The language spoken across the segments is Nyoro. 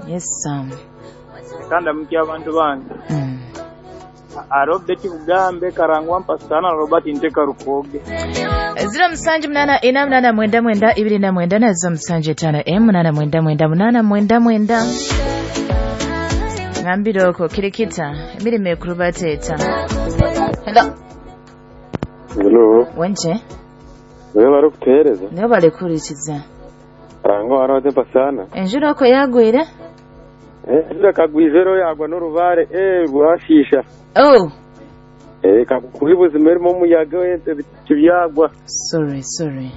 Yes, Sam. Kandi mukya abantu bange. Arobert Bugambe Karangwa Mpasana Robert Nteka Rukoge. 0784 89 29 na 0754 89 99. Ngambire okwo kirikita emirimo ekuru bateeta. Hello. Hello. Wenje. Wewe bari kutuhereza? Nibo barikurikiza. Karangwa warode Mpasana. Enjura okwo yagwire? Enjura kagwizero yagwa n'orubare rwashisha. Oh. Kakubi buzima erimo omuyaga ebiti byagwa. Sorry, sorry.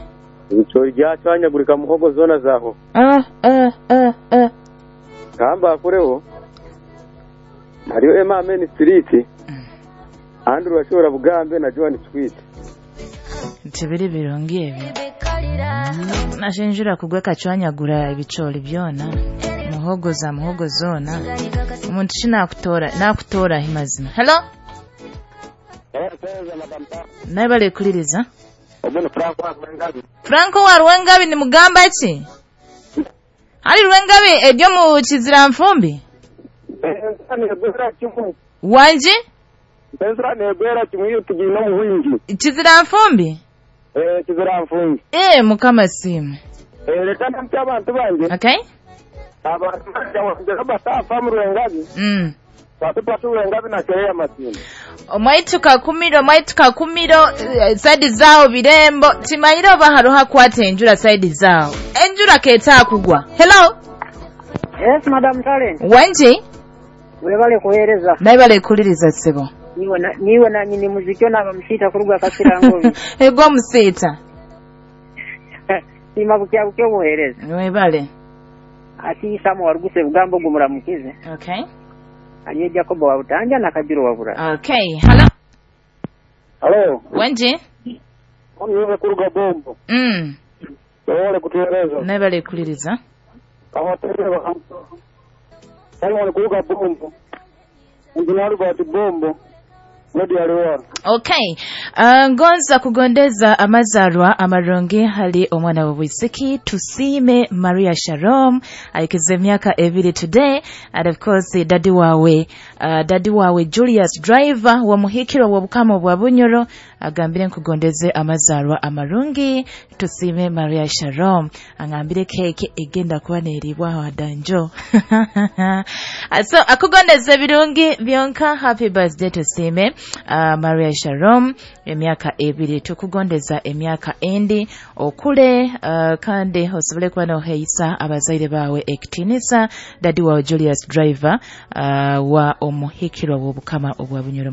Ebicori byacwanyagurika muhogo zona zaho. Kamba akureho. Hariyo Emma Main Street. Andrew Ashora Bugambe na Joan Sweet. Tibiri birungi ebyo. Nashenjura kugwa kacwanyagura ebicori byona. Muhogo za muhogo zona. Omuntu shi nakutora nakutora mazima. Hello. Naye balekuliriza. Franco wa Rwengabi ni mugamba ki? Hali Rwengabi eryo mu Kizira Nfumbi? Wanji? Enzura negwera kimwe iyo tugiye no muhingi. Kizira Nfumbi? Kizira Nfumbi. Mukama simu. Reka ndamutse abantu bange. Okay. Abantu bange batafa mu Rwengabi. Batupata Rwengabi na Kereya Masindi. Omwaitu Kakumiro saidi zao birembo timanyire oba hariho akwata enjura saidi zao enjura keeta kugwa. Hello. Yes, Madam Talent. Wanji? Webale kuhereza. Naye balekuliriza ssebo. Niwe na nyini muziki na bamusita kuruga Kasirangobi. Ego musita. Sima bukya bukya buhereza. Webale. Ati Samu waruguse bugambo gumuramukize. Okay. Aliye Jacobo wa Utanja na Kabiru wa Bura. Okay. Hello. Hello. Wanji? Niwe kuruga Bombo. Webale kutuhereza. Naye balekuliriza. Abatereba. Webale kuruga Bombo. Engineer Robert Bombo. Okay. Ngonza kugondeza amazarwa amarungi hali omwana w'obwisiki Tusiime Maria Shalom aikize emyaka 2 today, and of course daddy wawe Julius Driver wa muhikiro wa Bukama bwa Bunyoro agambire nkugondeze amazarwa amarungi Tusiime Maria Shalom angambire keke egenda kuba neribwa wadanjo. So akugondeze birungi byonka. Happy birthday Tusiime Maria Shalom, emyaka 2 tukugondeza emyaka endi okule, kandi osobole kuba noheisa abazaire bawe ekitinisa. Daddy wawe Julius Driver wa omuhikirwa w'Obukama obwa Bunyoro.